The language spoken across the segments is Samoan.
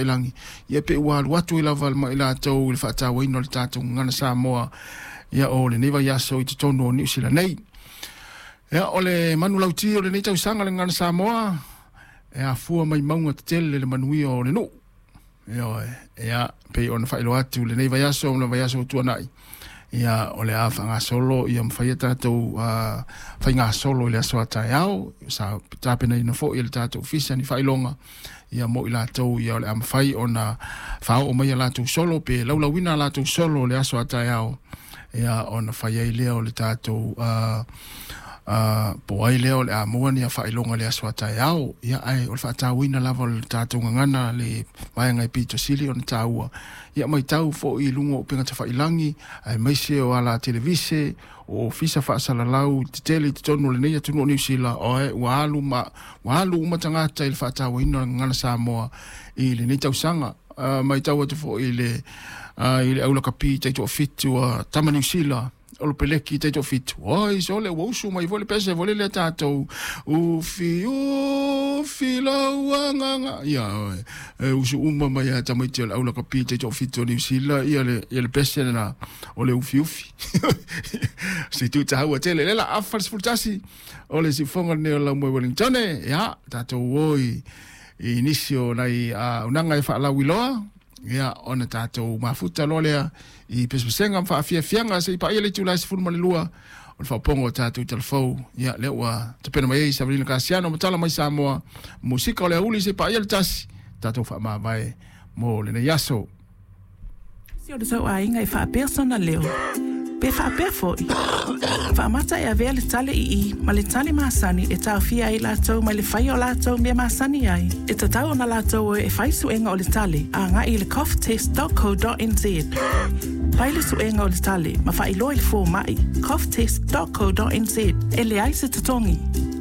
Lagi, ia pe ua alu atu ai lava ma i latou i le faatauaina o le tatou gagana Samoa, ia o lenei vaiaso i totonu o Niu Sila nei. Ia, o le manulauti o lenei tausaga le gagana Samoa, e afua mai mauga tetele le manuia o le nuu. Ioe, ia, pei ona faailoa atu lenei vaiaso ma le vaiaso ua tuanai, ia o le a faagasolo ia mafai a tatou faigasolo i le aso a taeao, sa tapenaina foi e le tatou ofisa ni faailoga ia mo i latou ia o le a mafai ona faaoo mai a latou solo pe laulauina a latou solo le aso a taeao, ia ona fai ai lea o le tatou po ai lea o le a maua ni faailoga le aso a taeao. Ia ae o le faatauaina lava o le tatou gagana le vaega e pito sili ona taua. Ia matau foi i luga o upega tafailagi aemaise o ala televise o ofisa faasalalau tetele i totonu o lenei atunuu o Niu Sila, oe ua alu ma ua alu uma tagata i le faatauaina o le gagana Samoa i lenei tausaga. Matau atu foi i le i le aulakapi taitoafitu a tama Niu Sila o le peleki taitoafitu, oi sole ua usu mai foi le pese foi lele tatou ufi ufi lau agaga, ia oe e usu uma mai a tamaiti o le aulakapi taitoafitu o Niu Sila ia le pese lena o le ufi ufi. Se tu taua tele le la afa le 11 o le siufoga lenei o lau moe Wellington, ia tatou oi i nisi o nai aunaga e faalauiloa, ia ona tatou mafuta loa lea i pesepesega ma faafiafiaga se i paia le itula e 12 o le faaopoga o tatou talafou. Ia lea ua tapena mai ai Savalina Kasiano ma tala mai Samoa musika o le auli se i paia le tasi tatou faamavae mo lenei aso. Si o le tauaiga e faapea sona leo. Pe faapea foi. Faamata e avea le tale i i ma le tale masani e taofia ai latou mai le faia o latou mea masani ai. E tatau ona latou o e fai suega o le tale agai i le coughtest.co.nz. Fai le suega o le tale ma faailoa i le fomai coughtest.co.nz. E leai se totogi.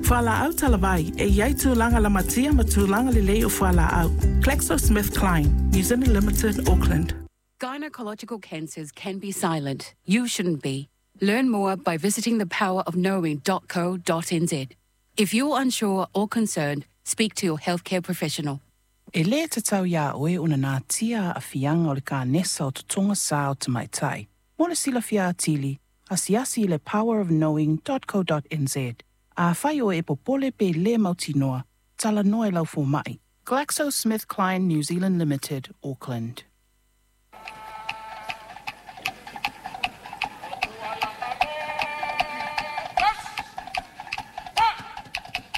Fualaau talavai e iai tulaga lamatia ma tulaga lelei o fualaau. GlaxoSmithKline, New Zealand Limited, Auckland. Gynecological cancers can be silent. You shouldn't be. Learn more by visiting thepowerofknowing.co.nz. If you're unsure or concerned, speak to your healthcare professional. E lē tatau iā oe ona natia aafiaga o le kanesa o totoga sā o tamaitai. Mo le silafia atili, asiasi i le powerofknowing.co.nz. Afai oe e popole pe lē mautinoa, talanoa i lau fomaʻi. GlaxoSmithKline New Zealand Limited, Auckland.